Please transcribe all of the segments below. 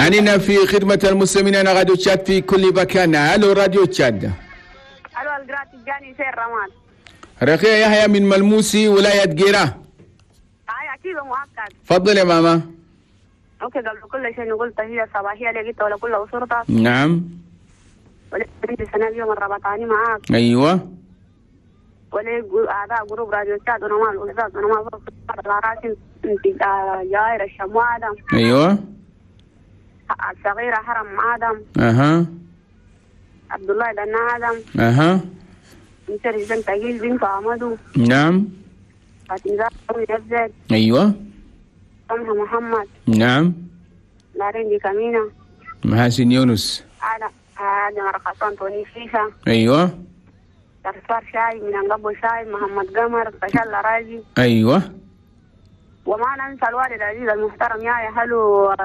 أننا في خدمة المسلمين أنا راديو تشاد في كل مكان. ألو راديو تشاد. ألو القرات الجاني سير رمان. رقية يحيى من ملموسي ولاية جيرة. هاي أكيد مؤكد. تفضل يا ماما. okay قبل كل شيء نقول تحية صباحية لقيت ولا كل أسرتك. نعم. ولا سنة اليوم الربطاني معاك. أيوة. ولا أعضاء group راديو تشاد ونمال الأستاذ ونمال الراسم جاير الشمو آدم. أيوة. الصغيرة حرم آدم. أها. عبد الله دنا آدم. أها. انت تجيل بنت عمدو. نعم. فاطمة يزيد. أيوة. سمحة محمد. نعم. لارين كامينا. محاسن يونس. أنا أنا رقصان توني شيشة. أيوة. ترسار شاي من أنقبو شاي محمد قمر فشل راجي. أيوة. وما ننسى الوالد العزيز المحترم يا هلو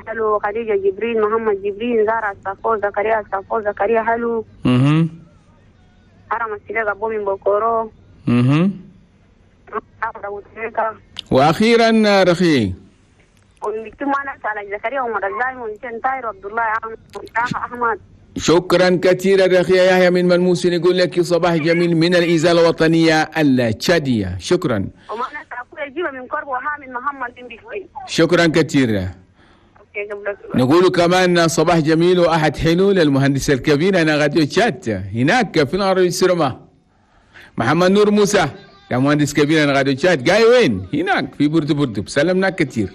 هلو خديجة جبريل محمد جبريل زارة الصفو زكريا الصفو زكريا هلو. حرم السلاق أبو من بوكورو. وأخيرا رخي شكرا كثيرا رخية يحيى من ملموس. نقول لك صباح جميل من الإزالة الوطنية التشادية. شكرا. شكرا كثيرا. نقول كمان صباح جميل وأحد حلو للمهندس الكبير أنا غاديو تشاد هناك في العربي السرمة محمد نور موسى يا مهندس كبير أنا غاديو تشاد جاي وين هناك في بوردو بوردو. سلمنا كثير.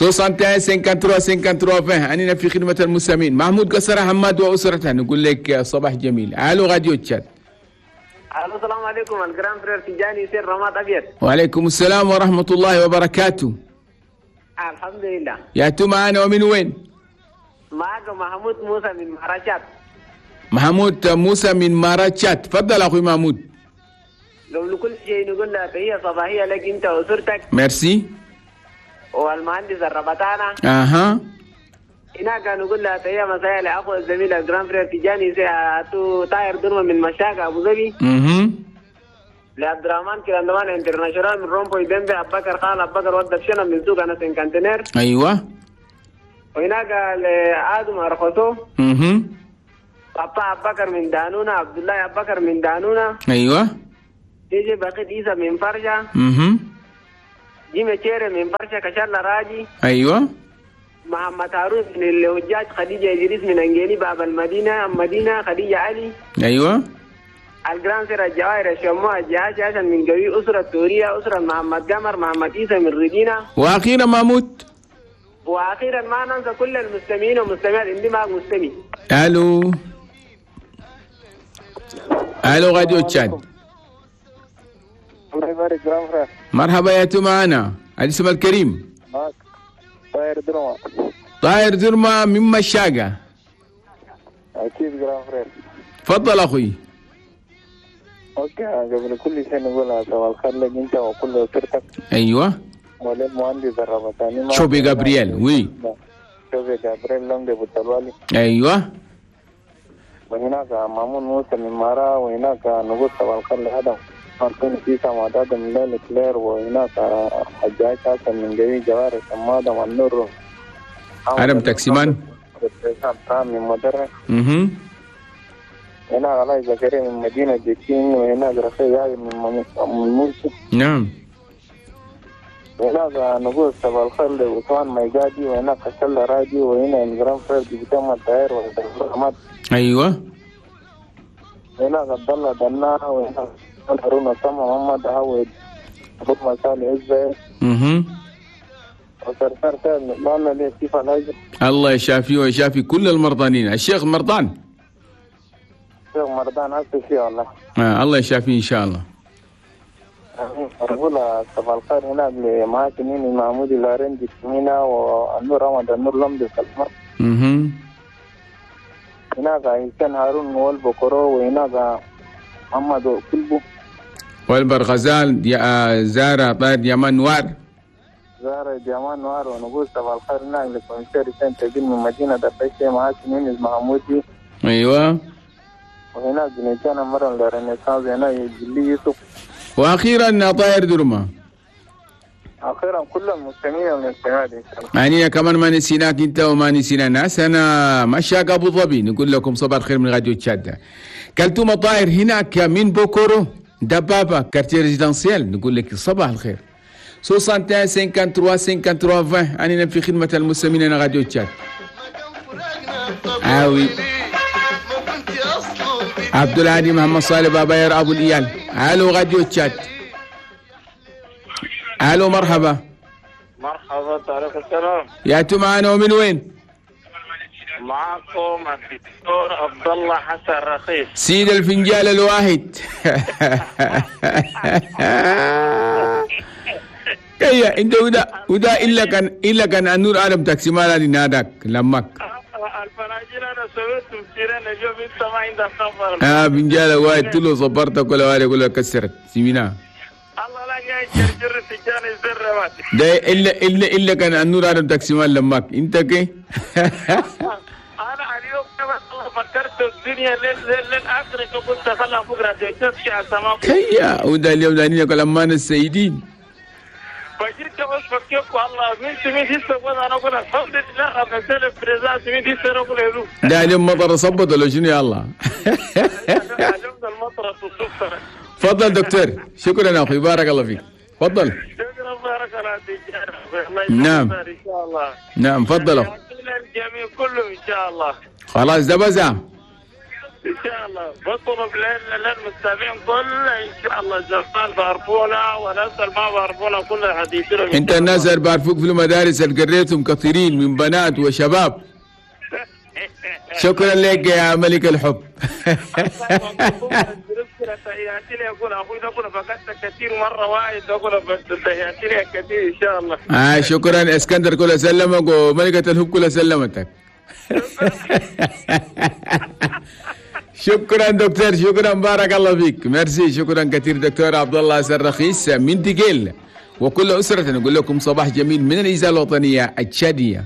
61 53 53 20 أننا في خدمة المستمعين. محمود قصر حماد وأسرته نقول لك صباح جميل. ألو راديو تشاد. ألو السلام عليكم ال grand frère تجاني سير رماد أبيض. وعليكم السلام ورحمة الله وبركاته. الحمد لله. يا تو معنا ومن وين؟ معك محمود موسى من ماراتشات. محمود موسى من ماراتشات، تفضل أخوي محمود. قبل كل شيء نقول لك تحية صباحية لك أنت وأسرتك. ميرسي. والمهندس الربطانة. اها. هناك نقول لها تحية مساء لأخو الزميل ال grand frère تجاني تو طاير درمة من مشاكة أبو ظبي. لعبد الرحمن كلاندمان international من رومبو يدنبي أبو بكر خال أبو بكر ودك شنو من سوق أنا سنكانتينير. أيوة. وهناك لآدم أرخصو. بابا أبو بكر من دانونا، عبد الله أبو بكر من دانونا. أيوة. ديجي بقيت إيسا من فرجة. جيمي تشيري من فرشة كشالة راجي. أيوة. محمد هارون من الهجاج، خديجة إدريس من أنجيني باب المدينة مدينة خديجة علي. أيوة. الجران سير الجواهر الشموع الجهاز عشان من قوي أسرة تورية أسرة محمد قمر محمد إيسى من ريدينا. وأخيرا محمود. وأخيرا ما ننسى كل المستمعين والمستمعات عندي معك مستمع. ألو ألو راديو تشاد. الله يبارك grand frère. مرحبا يا تو معنا الاسم الكريم. معك طاير درما. طاير درما من مشاقة. أكيد grand frère. تفضل أخوي. okay قبل كل شيء نقول صباح الخير لك أنت وكل أسرتك. أيوه. وللمهندس الربطاني شوبي جابرييل. oui. شوبي جابرييل لمدي بوتالوالي. أيوه. وهناك مامون موسى من مارا، وهناك نقول صباح الخير لآدم مارتين كيسا معداد من ليلة كلير، وهناك حجاج حسن من جوي جوار سمادة والنور عرب تاكسيمان من مدرة. هناك علاء زكريا من مدينة جيتين، وهناك رفيق من موسى. نعم. وهناك نقول صباح الخير لعثمان ميقادي، وهناك حسن راجي، وهنا ال grand frère بتم الطاهر وحماد. ايوه. هناك عبد الله دنا، وهناك هارون سما محمد عوض ابو مسال عزه. الله يشافيه ويشافي كل المرضانين. الشيخ مرضان. الشيخ مرضان ألف شيء والله. الله يشافيه إن شاء الله. أقول صباح الخير هناك لمعاك مين محمود الهرندي هنا والنور رمضان النور لمدي سلمى. هناك إنسان هارون والبكرو، وهناك محمد كلبو والبرغزال زارة طير يمان نوار. زارة ديامان نوار. ونقول صباح الخير هناك لكونسير سنت من مدينة دبشة معاك مين محمودي. أيوة. وهناك بنتنا مرة لرنسانس هنا يجلي يوسف. وأخيرا طاهر درما. اخيرا كل المستمعين والمستمعات ان شاء الله. يعني كمان ما نسيناك انت وما نسينا ناس. انا مشاق ابو ظبي، نقول لكم صباح الخير من راديو تشاد. كلتوم طاهر هناك من بوكورو دبابة quartier résidentiel، نقول لك صباح الخير. 61 53 53 20 أنا في خدمة المستمعين راديو تشاد. آوي عبد الهادي محمد صالح باباير أبو الإيال. ألو راديو تشاد. ألو مرحبا. مرحبا، عليكم السلام. يا معنا ومن وين؟ معكم الدكتور عبد الله حسن رخيص، سيد الفنجال الواحد. كيا انت ودا الا كان النور عالم تاكسي مالا ناداك لمك الفناجيل. انا سويت سيرين اليوم، انت ما عندك خبر. فنجال واحد تلو صبرتك ولا واحد يقول لك كسرت سيمينا. الله لا جاي جرجر فنجان الزر ده الا كان النور عالم تاكسي مال لمك انت كي. انا اليوم والله فكرت الدنيا للاخر كنت خلها بكره تمشي على السماء. كيا وده اليوم داني يقول امان السيدين فجيت بس فكيك والله من سمين هسه وانا اقول الحمد لله انا سلف بريزات من هسه اقول له ده اليوم مطر صبت ولا شنو؟ يا الله اليوم المطر تصب. تفضل دكتور. شكرا اخوي، بارك الله فيك. تفضل. شكرا، بارك الله فيك. نعم ان شاء الله. نعم تفضل. الجميع كله ان شاء الله. خلاص ده بس ان شاء الله. بطلب للمستمعين كل ان شاء الله الزفال بعرفونا وناس ما بعرفونا كل حديثنا. انت الناس اللي بعرفوك في المدارس اللي قريتهم كثيرين من بنات وشباب. شكرا لك يا ملك الحب. شكرا اسكندر كله سلمك وملكة الحب كله سلمتك. شكرا دكتور، شكرا، بارك الله فيك، ميرسي. شكرا كثير دكتور عبد الله الرخيص من تقيل وكل اسرة. نقول لكم صباح جميل من الاذاعة الوطنية التشاديه.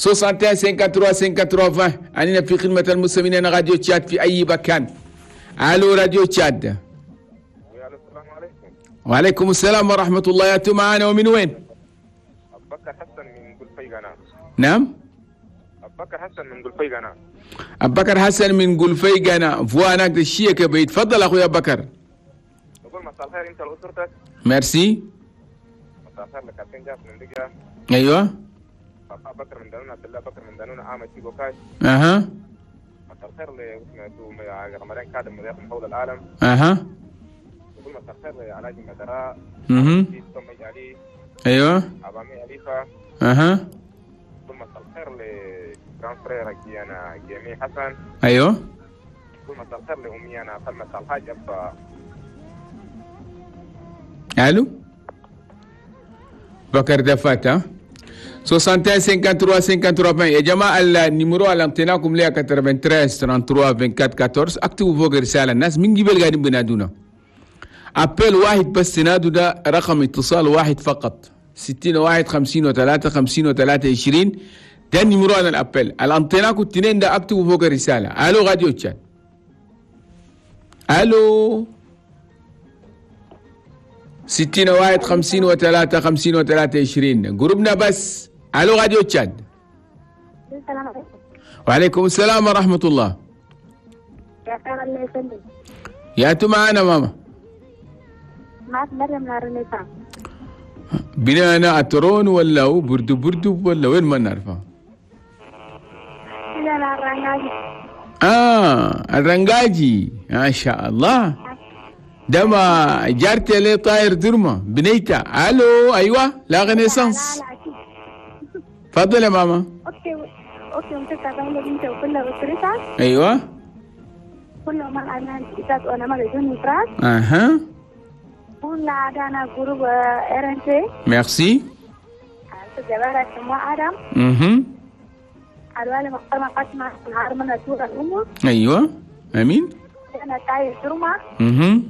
61 53 53 20 أننا في خدمة المستمعين راديو تشاد في أي مكان. ألو راديو تشاد. السلام عليكم. وعليكم السلام ورحمة الله. يا معنا ومن وين؟ أبو بكر حسن من قلفيقنا. نعم؟ أبو بكر حسن من قلفيقنا. أبو بكر حسن من قلفيقنا فوانك الشيك بيت. تفضل أخوي أبو بكر. نقول مساء الخير أنت لأسرتك. ميرسي. مساء الخير لكابتن جاف من دقيقة. أيوه. بكر من دانون، عبد الله بكر من دانون، عامة تيجو كاش. اها. مساء الخير لرمضان كادم مذيع من حول العالم. اها. نقول مساء الخير لعلاج المدراء. اها. علي. ايوه. أبامي أليفة. اها. نقول مساء الخير ل grand frère أنا جيمي حسن. ايوه. نقول مساء الخير لأمي أنا سلمى الحاج أبا. الو. بكر دفات. ها 61 53 53 يا جماعة ال numéro اللي انطيناكم ليها 93 33 24 14. اكتبوا فوق رسالة. الناس من قبل قاعدين بينادونا. appel واحد بس تنادوا، ده رقم اتصال واحد فقط. 61 53 53 20 ده ال numéro على ال appel. اللي انطيناكم الاثنين ده اكتبوا فوق الرسالة. الو راديو تشاد. الو 61 53 53 20 جروبنا بس. الو راديو تشاد. السلام عليكم. وعليكم السلام ورحمة الله. يا خير الله يسلمك. يا انتو معانا ماما. معك مريم من الرنيسان. بنانا اترون ولا هو بردو بردو ولا وين ما نعرفها؟ بنانا الرنجاجي. الرنجاجي ما شاء الله. ده ما جارتي ليه طاير درمة بنيتا. الو ايوه la Renaissance. تفضل يا ماما. okay okay متابعين بنتي وكل اسرتها. ايوه كل ما انا إذا انا ما بدون افراط. اها كل عادنا groupe RNT. ميرسي. جبارة سمو آدم. اها الوالي مقرمة قسمة نهار من سورة الأم. ايوه امين. انا تاي درمة. اها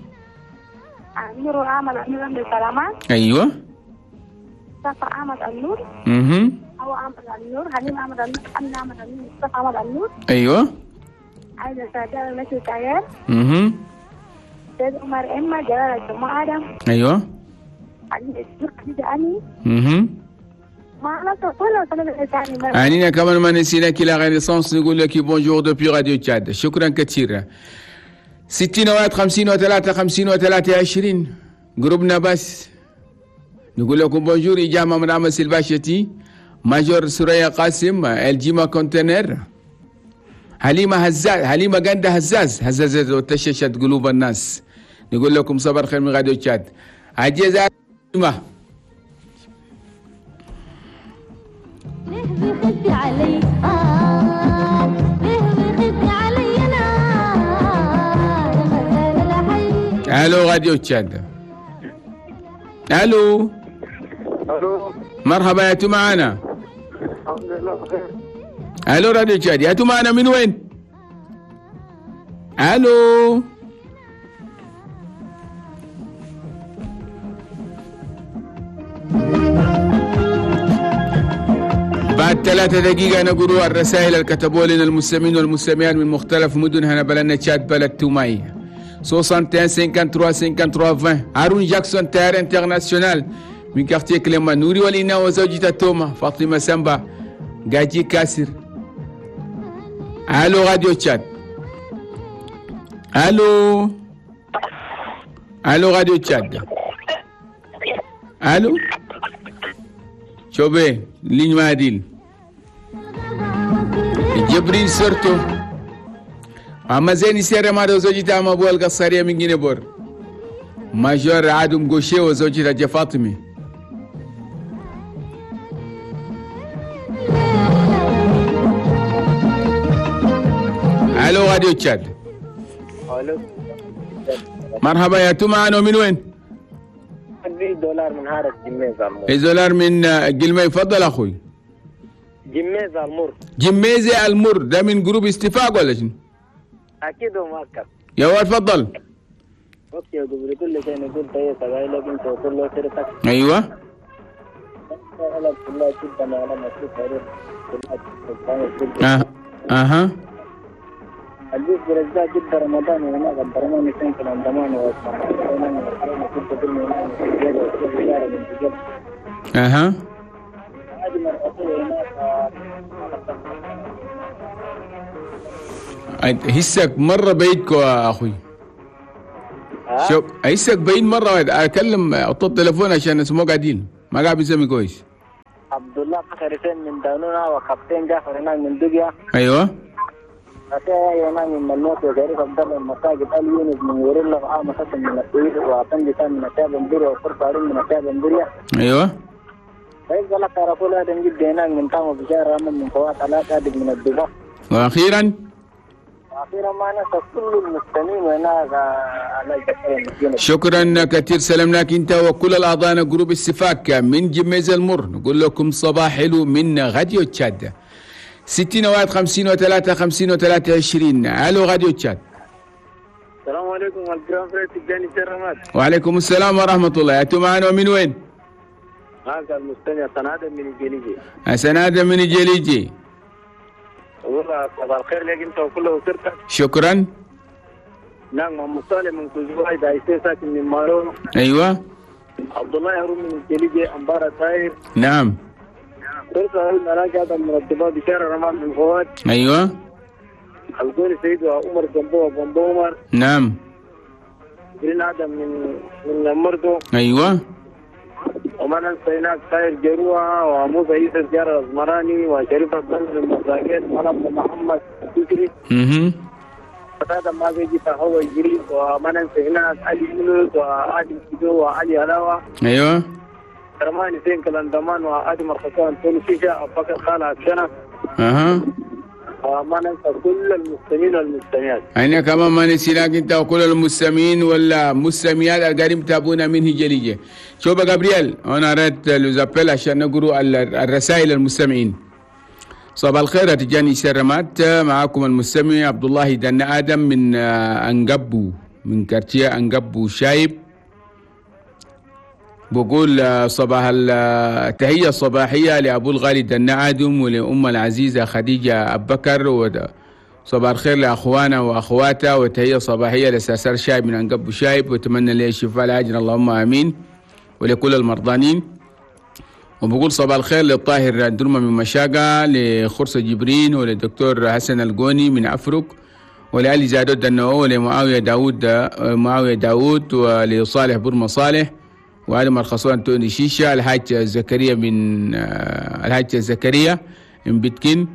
أمير عمل أمير بالسلامات. ايوه صفا أحمد النور. اها هو أحمد النور، حليم أحمد النور، أمين أحمد النور، مصطفى أحمد النور. ايوه عايزة سعداء المشي تاير. اها سيد عمر إما جلال الجمعة آدم. ايوه أنينا كمان ما نسيناك la Renaissance، نقول لك bonjour depuis راديو تشاد. شكرا كثير. 60 1 53 53 20 جروبنا بس. نقول لكم bonjour. إجامة من عمس الباشتي، major سوريا قاسم، الجيما كونتينر، حليمة هزاز، حليمة جندة هزاز، هزازت وتششت قلوب الناس. نقول لكم صبر خير من راديو تشاد. عجيزة ليه بيخبي علي ليه بيخبي علي انا. الو راديو تشاد. الو الو مرحبا، يا تو معانا؟ الحمد لله بخير. الو راديو تشاد، يا تو معانا من وين؟ الو بعد 3 دقيقة نقول الرسائل اللي كتبوا لنا المستمعين والمستمعات من مختلف مدن هنا بلدنا تشاد، بلد توماي. 61 53 53 20. هارون جاكسون تيار international من quartier كليما، نوري ولينا وزوجته توما، فاطمة سامبا، جاجي كاسر. الو راديو تشاد. الو الو راديو تشاد. الو شوبي ligne ماديل جبريل سرتو اما زيني سير ما زوجتها ما ابو القصاريه من جنبور، major عادم غوشي وزوجتها فاطمه. الو راديو تشاد. الو مرحبا، يا تو معنا من وين؟ دولار من هارة جميزة المر. دولار من جلمي. تفضل اخوي. جميزة المر. جميزة المر ده من groupe استفاق ولا شنو؟ اكيد ومؤكد. يا ولد تفضل. okay قبل كل شيء نقول طيب لك انت وكل اسرتك. ايوه. اها. الجيش برزاق جدا رمضان وهناك البرمان يسين في الأندمان. اها. هسك مرة بعيدكو يا أخوي. شوف هسك بعيد مرة، أكلم أطلب التليفون عشان اسمه قاعدين ما قاعد بيسمي كويس. عبد الله فخر حسين من دانونا، وكابتن جعفر هناك من دقيا. أيوه. هناك من ملوك، وشريف عبد الله من مساجد ال يونس من وريلا، وعام حسن من السويد، وعطنجي كان من أشاب بندوريا، وفرصة هارون من أشاب بندوريا. أيوه. فيبقى لك رسول آدم جدا هناك من طعم بشار من فوات علاء آدم من الدبا. وأخيرا وأخيرا ما ننسى كل المستمعين هناك على. شكرا كثير، سلامناك انت وكل الاعضاء groupe السفاك من جميز المر. نقول لكم صباح حلو من راديو تشاد. 60 1 53 53 20. الو راديو تشاد. السلام عليكم ال grand frère تجاني سرمات. وعليكم السلام ورحمة الله. انتم معنا من وين؟ هذا المستمع سنادة من الجليجي. سنادة من الجليجي. والله صباح الخير لك انت وكل اسرتك. شكرا. نعم محمد صالح من كوزواي دايسي ساكن من مارو. ايوه. عبد الله هارون من الجليجي امبارة طاير. نعم. فرصة هارون مراجع هذا من الدباب بشارع رمان بن فواد. ايوه. القول سيد وعمر جنبو وبندو عمر. نعم. جرين آدم من مردو. ايوه. وما ننسى هناك طاير جروة وموسى عيسى الجار الأزمراني وشريف عبد الله المساكين وأنا محمد الفكري. هذا ما بيجي فهو يجري. وما ننسى هناك علي يونس وآدم سيدو وعلي هلاوة. ايوه. رماني زين كلاندمان وآدم الخسان توني شيشة أبو بكر خالد عبشنة. اها. وما ننسى كل المستمعين والمستمعات. أنا كمان ما نسيناك أنت وكل المستمعين والمستمعات القاعدين يتابعونا من هجليجة. شوف جابرييل، أنا arrête les appels عشان نقرأ الرسائل المستمعين. صباح الخير تجاني سرمات، معاكم المستمع عبد الله دن آدم من أنقبو، من quartier أنقبو شايب. بقول صباح التحية الصباحية لأبو الغالي دنا آدم ولأم العزيزة خديجة أبو بكر، وصباح الخير لأخوانا وأخواتها، وتحية صباحية لسرسر شايب من أنقب شايب، وأتمنى له الشفاء العاجل اللهم آمين. ولكل المرضانين. وبقول صباح الخير للطاهر درمة من مشاقة، لخرصة جبرين، وللدكتور حسن القوني من أفرق، ولعلي زادود دنو، ولمعاوية داود معاوية داود، ولصالح برمة صالح، وعلي الخصوان توني شيشة، الحاج زكريا من الحاج زكريا من بيتكين،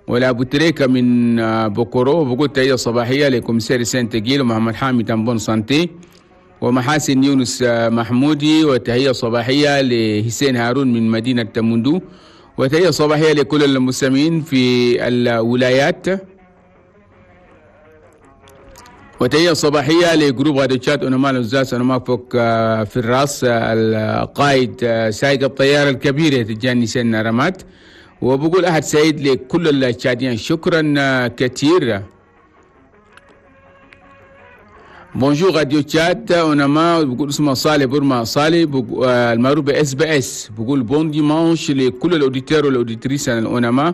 ولأبو تريكة من بوكورو. وبقول تحية صباحية ل commissaire سانت جيل ومحمد حامد en bonne santé، ومحاسن يونس محمودي، وتحية صباحية لحسين هارون من مدينة تموندو، وتحية صباحية لكل المستمعين في الولايات، وتحية صباحية ل groupe راديو تشاد أوناما الأستاذ أنا ما فوق في الراس القائد سائق الطيارة الكبيرة تجاني سن رمات. وبقول أحد سعيد لكل التشاديين، شكرا كثير. bonjour راديو تشاد اوناما، بقول اسمه صالح برما صالح المعروف SBS، بقول bon dimanche لكل ال auditeurs وال auditrices الاوناما،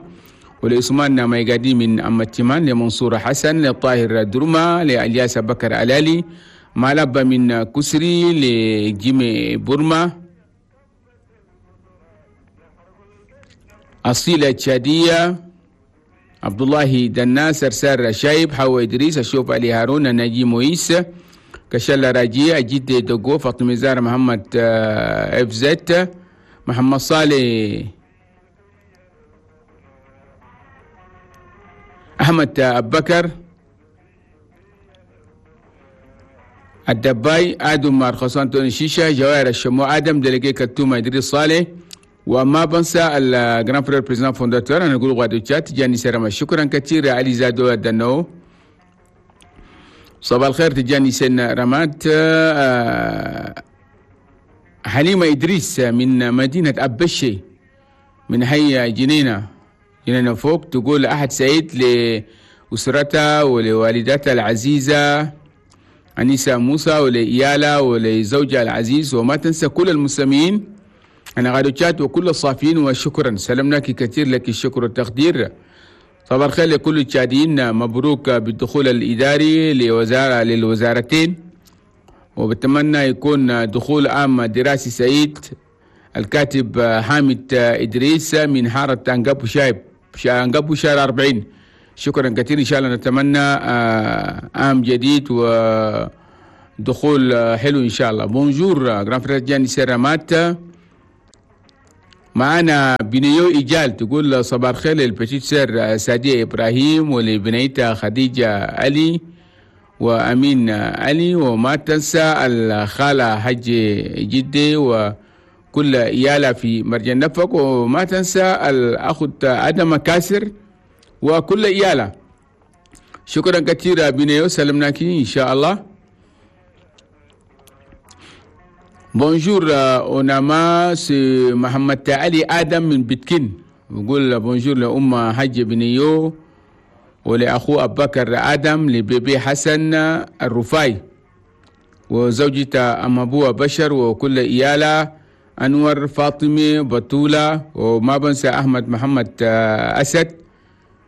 ولعثمان ميقادي من أمتمان، لمنصور حسن، لطاهر درما، لالياس بكر علالي، مالابا من كسري، لجيمي برما، أصيلة تشادية، عبد الله دناس، سرسار شايب، حوا إدريس، الشوف علي هارون، ناجي مويس، كشلة راجية، جد دقو، فاطمة زار، محمد اف زت، محمد صالح، أحمد أبكر الدباي، آدم مارخصان توني شيشة، جواهر الشمو، آدم délégué كتومة، إدريس صالح، وما بنسى ال grand frère président fondateur انا نقول غادو تشات جاني سرما. شكرا كثير علي زادو الدنو. صباح الخير تجاني سن رمات. حليمة إدريس من مدينة أبشي من حي جنينة جنينة فوق، تقول أحد سعيد لأسرتها ولوالدتها العزيزة أنيسة موسى ولإيالة ولزوجها العزيز، وما تنسى كل المسلمين أنا غادو تشات وكل الصافين، وشكرا سلمناك كثير، لك الشكر والتقدير. صباح الخير لكل التشاديين، مبروك بالدخول الإداري لوزارة للوزارتين، وبتمنى يكون دخول عام دراسي سعيد. الكاتب حامد إدريس من حارة أنقابو شايب أنقابو شارع 40، شكرا كثير. إن شاء الله نتمنى عام جديد ودخول حلو إن شاء الله. bonjour grand frère جاني سيرامات. معنا بنيو إيجال تقول صباح الخير لل petite sœur سادية إبراهيم ولبنيتها خديجة علي وأمين علي، وما تنسى الخالة حج جدي وكل إيالة في مرجان نفق، وما تنسى الأخ آدم كاسر وكل إيالة. شكرا كثير بنيو، سلمناك إن شاء الله. bonjour أوناما، c'est محمد علي آدم من بيتكين، بقول bonjour لأم حج بنيو ولأخوه أبو بكر آدم، ل bébé حسن الرفاي وزوجته أم أبوها بشر وكل إيالة، أنور فاطمة بطولة، وما بنسى أحمد محمد أسد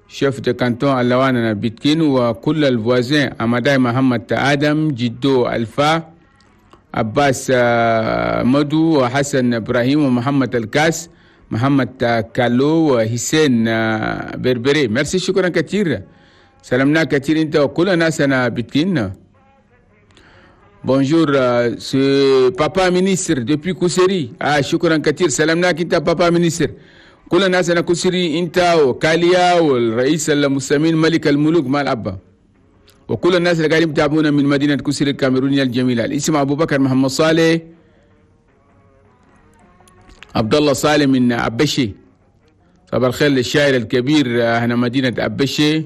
chef de canton اللوان بيتكين، وكل ال voisins أمداي محمد آدم، جدو ألفا، عباس مدو، وحسن إبراهيم، ومحمد الكاس، محمد كالو، وحسين بربري. ميرسي، شكرا كثير، سلمنا كثير انت وكل ناسنا بتكين. bonjour c'est papa ministre depuis كوسري. شكرا كثير، سلمناك انت papa ministre. كل ناسنا كوسري انت وكاليا والرئيس المسلمين ملك الملوك مال أبا، وكل الناس اللي قاعدين يتابعونا من مدينة كوسري الكاميرونية الجميلة. الاسم أبو بكر محمد صالح عبد الله صالح من أبشي. صباح الخير للشاعر الكبير هنا مدينة أبشي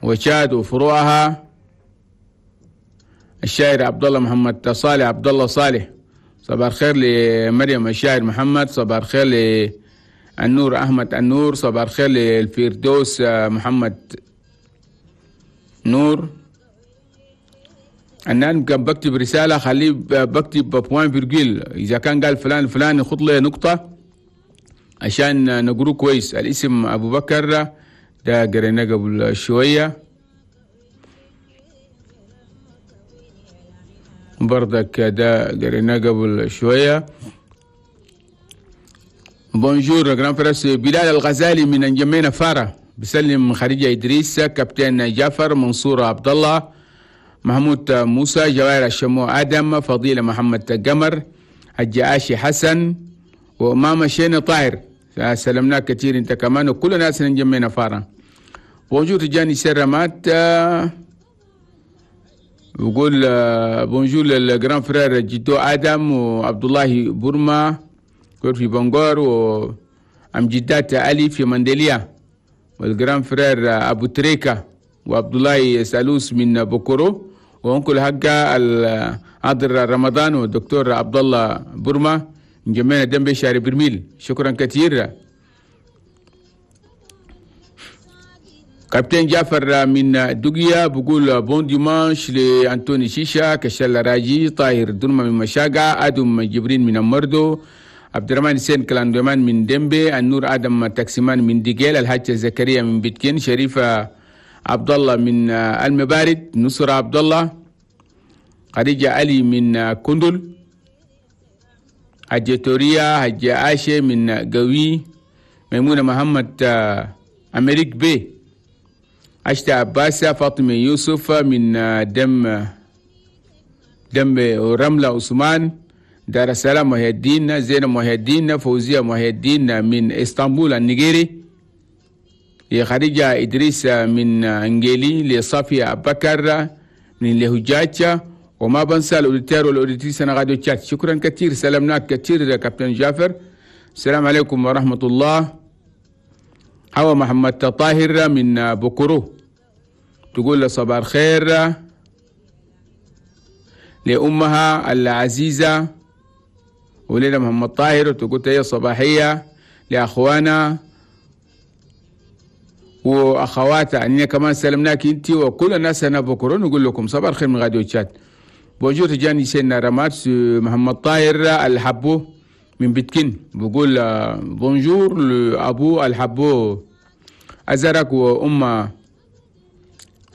وشاد وفروعها، الشاعر عبد الله محمد صالح عبد الله صالح. صباح الخير لمريم الشاعر محمد، صباح الخير للنور أحمد النور، صباح الخير للفردوس محمد نور. أنا كان بكتب رسالة خليه بكتب point virgule، إذا كان قال فلان فلان يخط لي نقطة عشان نقرو كويس. الاسم أبو بكر ده قريناه قبل شوية. برضك ده قريناه قبل شوية. bonjour grand frère بلال الغزالي من انجمينا فارة، بسلم خديجة إدريس، كابتن جعفر، منصور عبد الله، محمود موسى، جوائر الشمو آدم، فضيلة محمد قمر، الجعاشي حسن، وماما شيني طاهر. سلمناك كثير انت كمان وكل الناس انجمينا فارة. bonjour تجاني سرمات، بقول bonjour لل grand frère جدو آدم وعبد الله بورما في بنغور، وأم جدات علي في مندليا، وال grand frère أبو تريكا وعبد الله سالوس من بوكورو، و oncle حقا عادر رمضان والدكتور عبد الله بورما من جمعنا دمبي شاري برميل. شكرا كثير. كابتن جعفر من دقيا بقول bon dimanche لأنتوني شيشا، كشال راجي، طاهر درما من مشاقة، آدم جبرين من المردو، عبد الرحمن حسين كلاندومان من ديمبي، النور آدم تاكسيمان من ديجيل، الحاج زكريا من بيتكين، شريفة عبد الله من المبارد، نصر عبد الله، خديجة علي من كندل، حجة توريا، حجة عاشة من قوي، ميمونة محمد أمريك بي، عشتة عباسة، فاطمة يوسف من دم رملة عثمان، دار السلام محي الدين، زينب محي الدين، فوزية محي الدين من اسطنبول النيجيري، لخديجة إدريس من انجيلي، لصافية بكر من لهجاجة، وما بنسى ال auditeurs وال auditrices أنا غادي تشات. شكرا كثير، سلامناك كثير يا كابتن جعفر. السلام عليكم ورحمة الله. هو محمد طاهر من بوكورو تقول صباح الخير لأمها العزيزة وليلى محمد طاهر، وتقول تحية صباحية لأخوانا وأخواتها. أننا كمان سلمناك أنت وكل الناس هنا بكرة، نقول لكم صباح الخير من راديو تشاد. bonjour تجاني سيدنا رمات محمد طاهر الحبو من بيتكين، بقول bonjour لأبو الحبو أزرق وأمه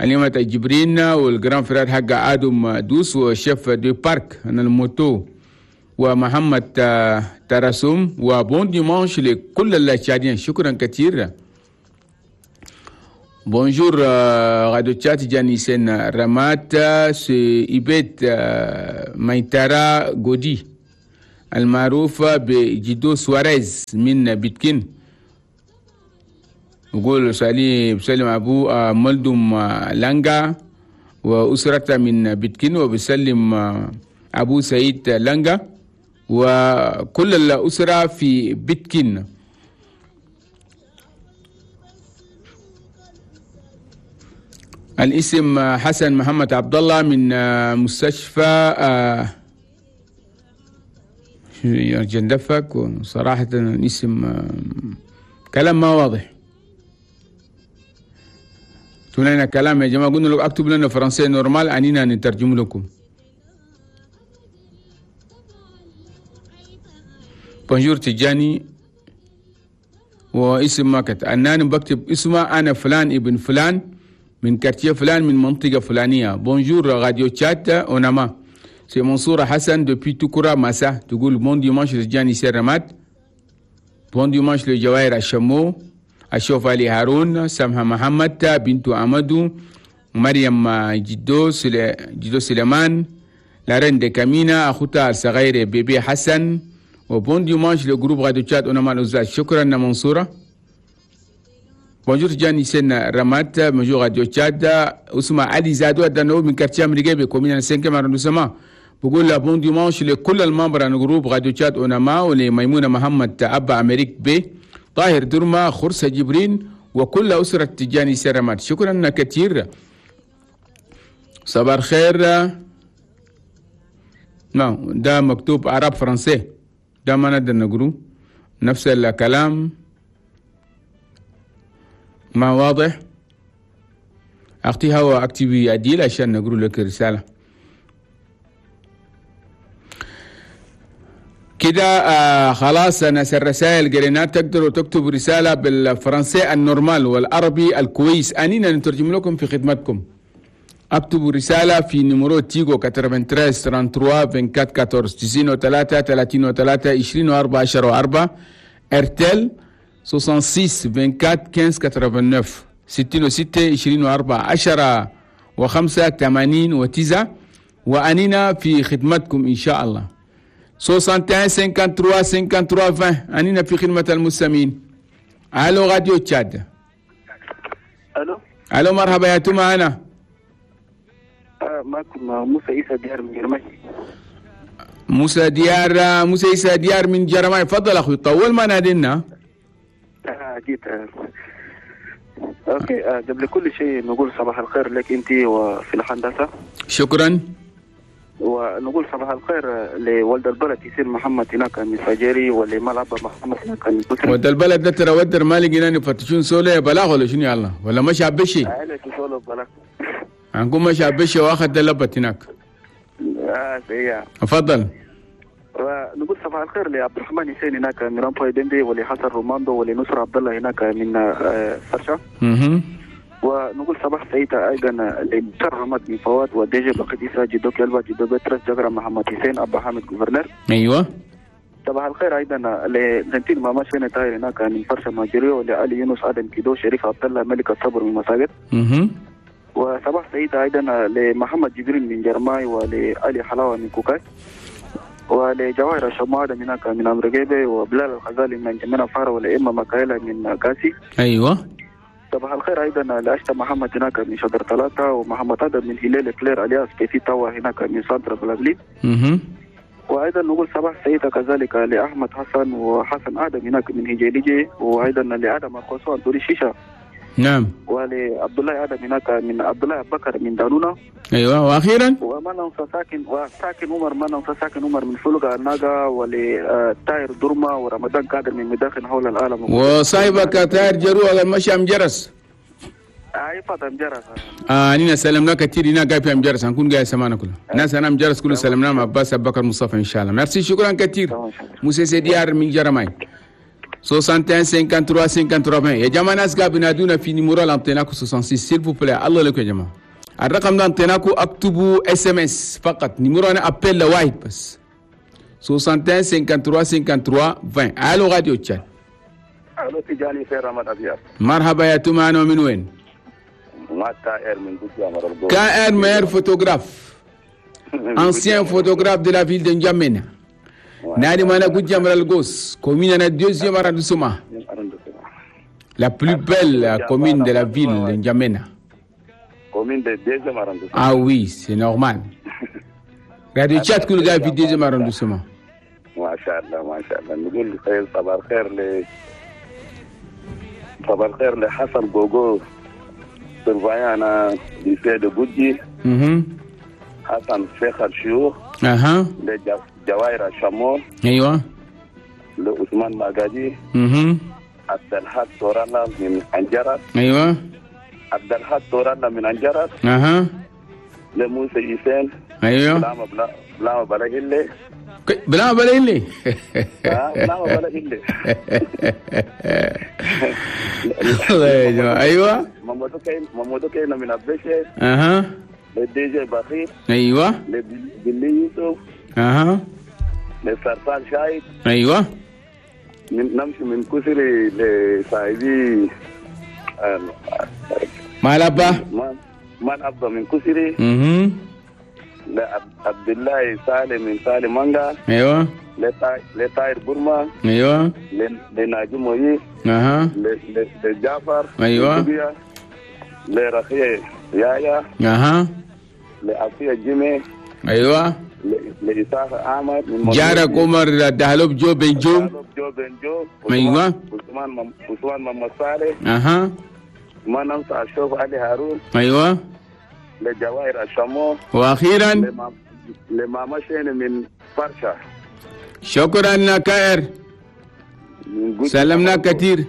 اليوم جبرين وال grand frère حق آدم دوس و chef de parc أنا ال moto ومحمد ترسم، و bon dimanche لكل التشاديين. شكرا كثير. bonjour راديو تشاد جاني سين رمات c'est إبيت ميتارا غودي المعروفة بجدو سواريز من بيتكين، نقول سالي بسلم أبو ملدم لانجا وأسرته من بيتكين، وبسلم أبو سعيد لانجا وكل الأسرة في بيتكين. الاسم حسن محمد عبد الله من مستشفى جندفك، وصراحة الاسم كلام ما واضح. اكتبوا لنا كلام يا جماعة، قلنا لكم اكتب لنا فرنسي normal أنينا نترجم لكم. bonjour تجاني واسم ما كتب، أنا بكتب اسمه أنا فلان ابن فلان من quartier فلان من منطقة فلانية. bonjour راديو تشاد أوناما c'est منصورة حسن depuis توكورا ماسا، تقول bon dimanche تجاني سيرمات، bon dimanche لجواهر الشمو، أشوف علي هارون، سمحة محمد، بنت أمدو، مريم جدو جدو سليمان، la reine de كامينا، أخوتها الصغيرة bébé حسن، و bon dimanche le groupe راديو تشاد أوناما الأستاذ. شكرا منصورة. bonjour جاني سن رمات، bonjour راديو تشاد اسمه علي زادو دانو من quartier أمريكا commune 5 arrondissement، بقول bon dimanche لكل ال membres عن groupe راديو تشاد أوناما، ولميمونة محمد أبا أمريك بي، طاهر درما، خرسة جبرين، وكل أسرة تجاني سرمات. شكرا كثير. صباح الخير. نعم ده مكتوب عرب فرنسي، ده ما نقدر نقوله نفس الكلام ما واضح. أختي هوا اكتبي أديل عشان نقول لك رسالة كده. خلاص ناس الرسائل قريناها، تقدروا تكتبوا رسالة بالفرنسي ال normal والعربي الكويس، أنينا نترجم لكم في خدمتكم. اكتبوا رسالة في numéro تيجو 93 33 24 14 93 33 24 10 4 Airtel 66 24 15 89 66 24 10 و5 89 وأنينا في خدمتكم إن شاء الله. 61 53 53 20 أنينا في خدمة المستمعين. ألو راديو تشاد. ألو. ألو مرحبا يا توما. أنا معكم موسى عيسى ديار من جرماي. موسى ديار، موسى عيسى ديار من جرماي. تفضل أخوي، طول ما نادينا. جيت. okay، قبل كل شيء نقول صباح الخير لك انت وفي الهندسة. شكرا. ونقول صباح الخير لولد البلد يسير محمد هناك من فجري، ولملعب محمد هناك من بكري. ولد البلد ده ترى ودر ما لقينا يفتشون سولة بلاغ ولا شنو؟ يلا ولا مش عبشي؟ سولة بلاغ. هنكون مش عبشي واخد دلبت هناك. تفضل. ونقول صباح الخير لعبد الرحمن حسين هناك من رامبوي دندي، ولحسن روماندو، ولنصر عبد الله هناك من فرشة. ونقول صباح سعيد ايضا لمسر رماد من فواد، وديجي بقديسة جدو كلبا جدو بترس جبرة محمد حسين ابا حامد gouverneur. ايوه. صباح الخير ايضا لزنتين ماما شين طاهر هناك من فرشة ماجريو، ولعلي يونس ادم كيدو شريف عبد الله ملك الصبر من مساجد. وصباح سعيد ايضا لمحمد جبريل من جرماي، ولعلي حلاوة من كوكاي، ولجواهر الشمادة من هناك من أمريكا، وبلال الغزالي من جميع فارة، ولإما مكايلة من كاسي. أيوة. صباح الخير أيضا لأشتا محمد هناك من شجر ثلاثة، ومحمد آدم من هلال كلير الياس بيتي توا هناك من سانترا بلابلين. وأيضا نقول صباح سعيدة كذلك لأحمد حسن وحسن آدم هناك من هجيليجي، وأيضا لآدم القصوى أنتوري شيشة. نعم. ولعبد الله آدم هناك من عبد الله بكر من دانونا. ايوه. واخيرا وما ننسى ساكن وساكن عمر، ما ننسى ساكن عمر من فلقة الناقة، ولتاير درما، ورمضان قادر من مداخل حول العالم، وصاحبك تاير جرو مشى ام جرس. اي فاطم جرس. نينا سلمنا كثير هنا قاعد في ام جرس، هنكون قاعد سمعنا كله ناس انا ام جرس كله سلمنا مع عباس ابو بكر مصطفى ان شاء الله. ميرسي، شكرا كثير. موسى ديار من جرماي 61 53 53 يا جماعة ناس قاعد بينادونا في numéro لانتيناكو 66 s'il vous plaît. الله لكم يا جماعة، الرقم ده انتيناكو اكتبوا SMS فقط، numéro انا appel لواحد بس 61 53 53 20. الو راديو تشاد. الو تجاني في رمضان ابيض. مرحبا يا تومان، من وين؟ ما كائر من قدام. كائر meilleur photographe، ancien photographe de la ville de N'Djamena. نادي مانا قد القوس commune أنا deuxième arrondissement, la plus belle commune de la ville de N'Djamena. Commune de deuxième arrondissement. Ah oui, c'est normal. راديو تشاد كل قاعد في deuxième arrondissement. ما شاء الله ما شاء الله. نقول خير صباح الخير ل صباح الخير لحسن جوجو surveillant lycée de بوجي. حسن شيخ الشيوخ. اها. لجواهر الشمور. ايوه. لعثمان ماجدي. عبد الحق تورالا من انجرس. ايوه. عبد الحق تورالا من انجرس. اها. لموسى يسين. ايوه. بلا بلا بلا هلي. بلا بلا هلي. بلا بلا هلي. الله يا جماعة. ايوه. مامودو كاين من ابشي. اها. لدي جي بخير. ايوه. لبلي يوسف. اها. لسرطان شايد. ايوه. نمشي من كسري لصاحبي مال ابا من ابا من كسري. لعبد الله سالم من سالم مانجا. ايوه. لطاير برما. ايوه. لناجي موي. اها. لجعفر. ايوه. لرخية يايا. اها. لعطية جيمي. ايوه. لإسحاق أحمد من جارك عمر دهلوب جو بنجو. جو بنجو. ايوه. عثمان محمد صالح. اها. ما ننسى الشوف علي هارون. ايوه. لجواهر الشمو. واخيرا لماما شين من فرشة. شكرا كائر، سلمنا كثير.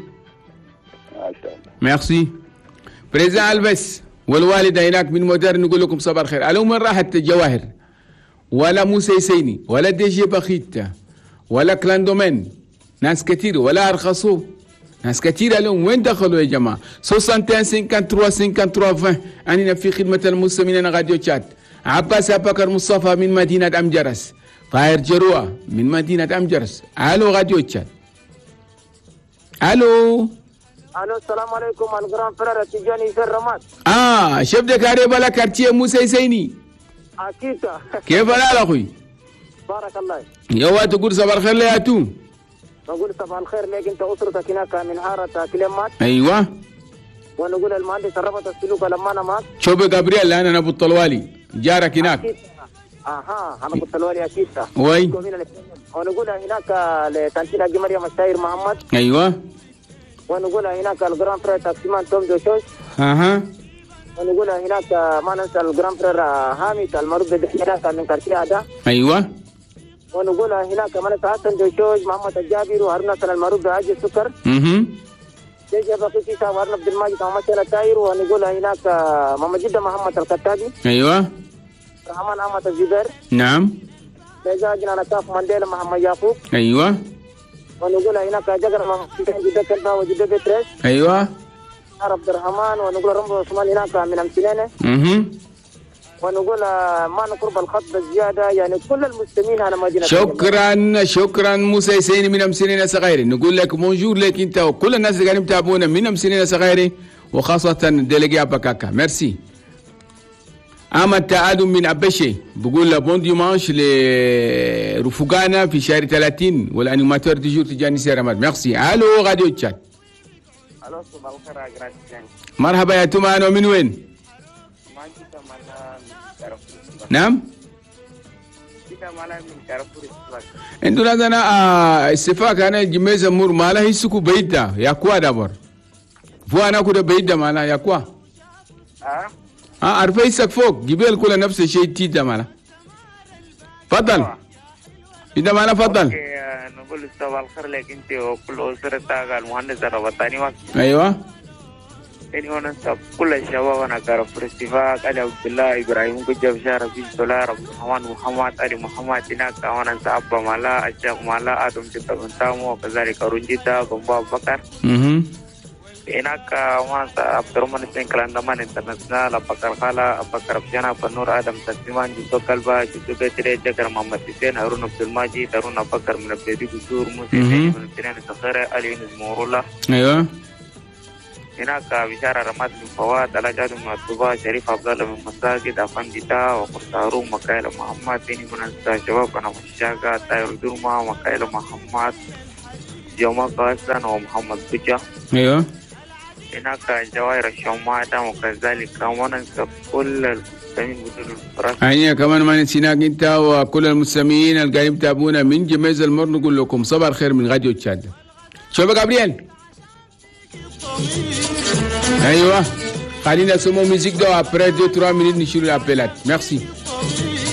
merci président البس والوالدة هناك من مودرن. نقول لكم صباح الخير. الو من راحت جواهر ولا موسى يسيني ولا دي جي بخيت ولا كلاندومين، ناس كثير ولا ارخصوا. ناس كثير لهم وين دخلوا يا جماعة؟ 61 53 53 20. أننا في خدمة المستمعين راديو تشاد. عباس أبكر مصطفى من مدينة أمجرس، طاهر جروة من مدينة أمجرس. ألو راديو تشاد. ألو الو السلام عليكم ال grand frère تيجاني في الرماد. Chef de carré بلا quartier موسى سيني. اكيد. كيف الحال اخوي؟ بارك الله. يوا تقول صباح الخير يا تو. نقول صباح الخير لك انت اسرتك هناك من حارة كلمات. ايوه. ونقول المهندس ربط السلوك لما انا معك. شوف جابرييل انا ابو الطلوالي جارك هناك. أكيد. اها انا ابو الطلوالي اكيد. وي. ونقول هناك لتانتينا مريم الشاير محمد. ايوه. ونقول هناك ال grand frère taximan توم دوشوش. اها. ونقول هناك ما ننسى ال grand frère هامد المعروف هناك من quartier هذا. ايوه. ونقول هناك ما ننسى حسن دوشوش محمد الجابر وهارون حسن المعروف بعاج السكر. جيجا بقي سيسا وهارون عبد الماجد محمد التاير. ونقول هناك محمد جدة محمد الكتابي. ايوه. رحمن احمد الزبير. نعم. جاجنا كاف مانديلا محمد يعقوب. ايوه. ونقول هناك جقر محمد جدة كلبا وجدة بتريس. ايوه. عبد الرحمن. ونقول رمضان عثمان هناك من امسنانه. ونقول ما نقرب الخط بزيادة يعني كل المسلمين على مدينة. شكرا شكرا موسى سيني من امسنانه صغيري. نقول لك bonjour لك انت وكل الناس اللي قاعدين يتابعونا من امسنانه صغيري وخاصة délégué اباكاكا. ميرسي. اما تعادل من ابشي بقول له bon dimanche لرفقانا في شهر 30 وال animateur du jour تجاني سيرامات. ميرسي. الو راديو تشاد. الو صباح الخير يا grand. مرحبا يا توما، من وين؟ نعم؟ انتو لازم استفاق انا جميزة مور مالا هيسكو بيدا يا كوا دابور فو انا كده بيدا مالا يا كوا عارفه يسك فوق جبال كل نفس الشيء تيدا مالا. تفضل إذا مالا تفضل. نقول صباح الخير لك انت وكل اسرتك المهندس الربطاني. ايوه. ثاني وننسى كل الشباب انا كارفور اتفاق علي عبد الله ابراهيم قجب شارف في سولار عبد الرحمن محمد علي محمد هناك وننسى ابا مالا الشيخ مالا ادم جدا بن تامو وكذلك رنجيتا بن بكر. هناك وننسى عبد الرحمن حسين كلاندمان انترناشونال ابو بكر خالا ابو بكر ابشانا بنور ادم تسليمان جدو كلبا جدو بتري جكر محمد حسين هارون عبد الماجد هارون ابو بكر من ابدي قصور موسى من سنان الصخيره علي نزمورولا. ايوه. هناك بشارة رماد بن فواد على جاد من الطباء شريف عبد الله بن مساجد أفنديتا وقرطارو مكايل محمد ثاني من الشباب أنا مشاقة تاير درما مكايل محمد جمال قاسن ومحمد بجا. ايوه. هناك جواهر الشمادة وكذلك وننسى كل المستمعين بدون الفرس. هيا كمان ما نسيناك انت وكل المستمعين اللي قاعدين يتابعونا من جميز المر. نقول لكم صباح الخير من راديو تشاد. شوف جابرييل. ايوه خلينا نسمو musique دو après 2 3 minutes نشيلو l'appel ات. ميرسي.